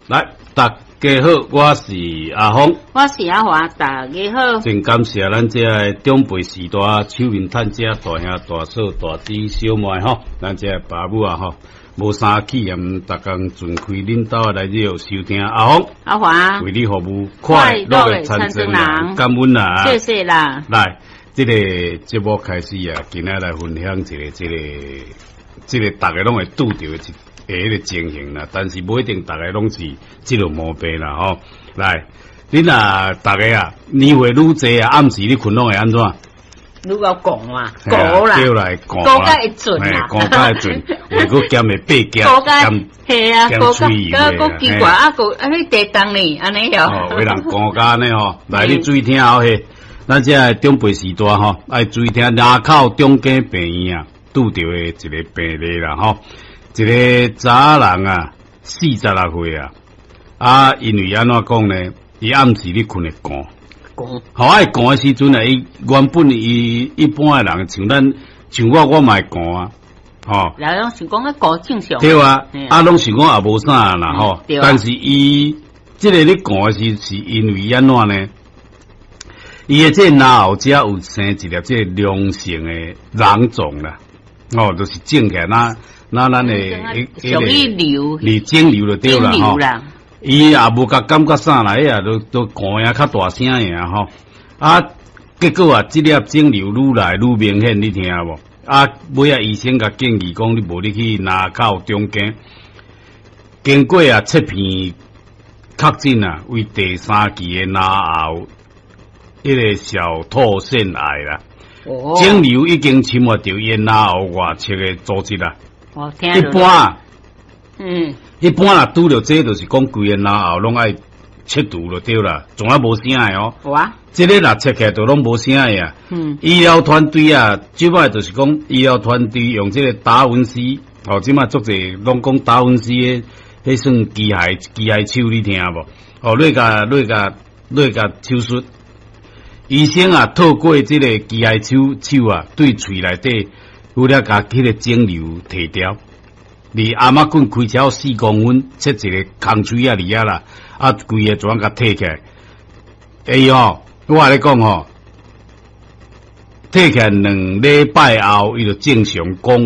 來，大家好，我是阿峰，我是阿華，大家好。真感謝咱這个長輩時代手面趁遮大兄大嫂大姊小妹吼，咱這个爸母啊吼，無啥氣炎，逐工盡開恁兜來這收聽阿峰阿華為你服務，快樂的田莊人，感恩啊！謝謝啦。來，這个節目開始啊，今仔來分享一个這个這个逐家攏會拄著的一彼个情形啦，但是無一定逐家攏是這个毛病啦吼。來，恁啊，逐家啊，年歲愈濟啊，暗時你睏攏會按怎？愈夠寒啊，寒啦，叫來寒寒甲會準啦，寒甲會準，有閣兼會爬夾，係啊，寒甲閣奇怪啊，閣啊你地凍呢，按呢哦。哦，有人寒甲按呢吼，來你注意聽好嘿，咱這个長輩時代吼，愛注意聽林口中間病院啊，拄著的一个病例啦吼。一个查人啊，46歲啊，啊，因為按怎講呢？伊暗時咧睏會寒，寒，好愛寒的時陣啊，伊原本伊一般的人像咱像我，我嘛會寒啊，吼。人攏想講啊寒正常。對啊，啊，攏想講也無啥啦吼。但是伊這个咧寒是是因為按怎呢？伊的這个嚨喉遮有生一粒這个良性的囊腫啦，哦，就是腫起來那。那咱的屬於瘤，你腫瘤就對啦吼。伊也無共感覺啥啦，伊也都都寒啊較大聲爾吼。啊，結果啊，這粒腫瘤愈來愈明顯，你聽無？啊，尾仔醫生共建議講，你無你去林口中間，經過啊切片確診啊，為第三期的嚨喉彼个小唾腺癌啦。哦。腫瘤已經侵入著伊的嚨喉外側的組織啦。一般，一般若拄著這，就是講規个嚨喉攏愛切除就對啦，總啊無聲的哦。有啊，這个若切起來就攏無聲的啊。醫療團隊啊，這擺就是講醫療團隊用這個達文西，哦，這擺足濟攏講達文西的，彼算機械機械手，你聽無？哦，落共落共落共手術，醫生啊，透過這个機械手手啊，對喙內底。有了共彼个腫瘤提掉，離頷仔棍開車4公分，切一个空喙仔佇遐啦，啊，規个全共提起來。哎喲，我共你講吼，提起來2禮拜後，伊就正常講。